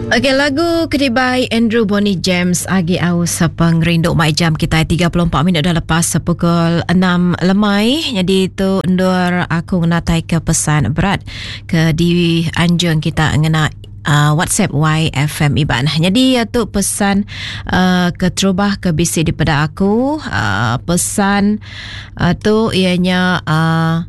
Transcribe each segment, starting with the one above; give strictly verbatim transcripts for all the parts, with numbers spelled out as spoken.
Okey, lagu kedibai Andrew Bonnie James agi aus pengerindu mai jam kita tiga puluh empat minit dah lepas pukul enam lemai. Jadi tu endur aku ngenatai ke pesan berat ke di anjung kita ngena Uh, WhatsApp Y F M Iban. Jadi tu pesan uh, keterubah ke bisi daripada aku. Uh, pesan uh, tu ianya uh,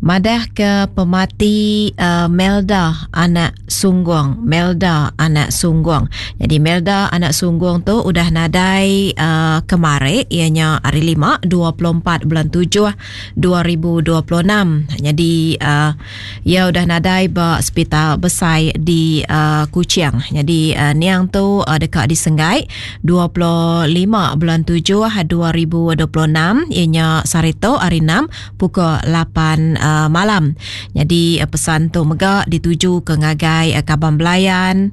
madah ke pemati uh, Melda anak Sungguang. Melda anak Sungguang. Jadi Melda anak Sungguang tu udah nadai uh, kemari ianya hari lima dua puluh empat bulan tujuh dua ribu dua puluh enam. Jadi uh, ia udah nadai ba hospital besai di uh, Kuching. Jadi uh, niang tu uh, dekat di Senggai dua puluh lima bulan tujuh dua ribu dua puluh enam ianya sarito hari enam pukul lapan uh, malam. Jadi pesan tu mega dituju ke ngagai Kaban Belayan,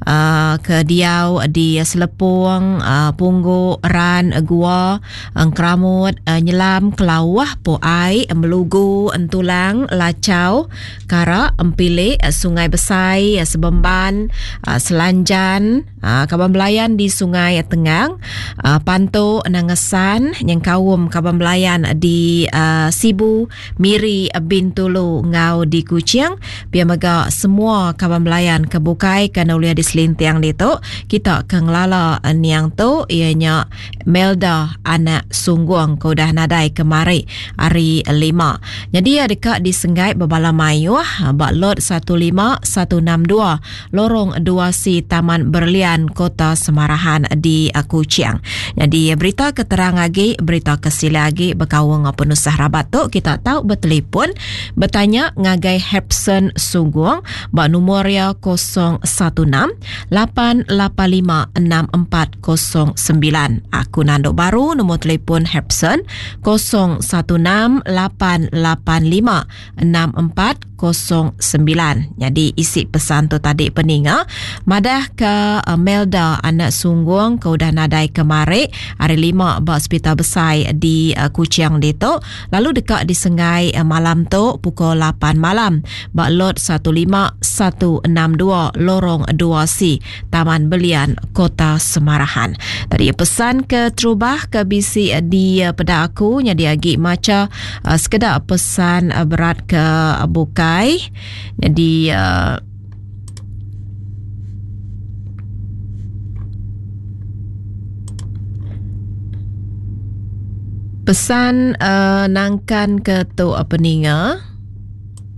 uh, ke Diau di Selepung, uh, Punggu, Ran, Gua, Engkeramut, uh, Nyelam, Kelawah, Poai, Melugu, Entulang, Lacau, Karak, Empilik, Sungai Besai, Sebemban, uh, Selanjan, uh, Kaban Belayan di Sungai Tengang, uh, Pantu, Nangesan, Nyengkaum Kaban Belayan di uh, Sibu, Miri, Bintulu, Ngau di Kuching. Pia mega semua kawan belayan kebukai kena ulia di selintiang ditu. Kita ke ngelala niang tu ianya Melda anak Sungguang ke udah nadai kemari hari lima. Jadi ia dekat di Senggai Bebala Mayuh bak lot satu lima satu enam dua Lorong dua C Taman Berlian Kota Semarahan di Kuching. Jadi berita keterang lagi, berita kesila lagi berkawang penusah rabat tu kita tahu bertelefon bertanya ngagai Hepson Sungguang bak nombor ya kosong satu enam lapan lapan lima enam empat kosong sembilan. Aku nanduk baru nombor telefon Hepson kosong satu enam lapan lapan lima enam empat kosong sembilan. Jadi isi pesan tu tadi peninga madah ke Melda anak Sungguang ke udah nadai kemari hari lima bak hospital besai di uh, Kuching ditu lalu dekat di Sengai uh, malam tu pukul lapan malam bak lot satu lima satu enam dua Lorong dua C Taman Belian Kota Semarahan. Tadi pesan ke terubah ke bisi di peda aku jadi agi maca uh, sekedar pesan uh, berat ke bukai. Jadi uh, pesan uh, nangkan ke tu peninga.